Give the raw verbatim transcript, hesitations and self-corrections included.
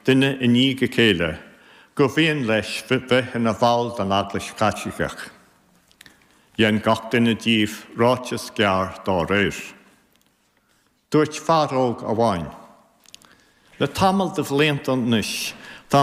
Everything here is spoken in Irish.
duine i ndiaidh a chéile, gur mhian leis bheith ina bhall den Eaglais Chaitliceach. Dhein gach duine díobh ráiteas gearr dá réir. Dúirt fear óg amháin. Le tamall de bhlianta anois,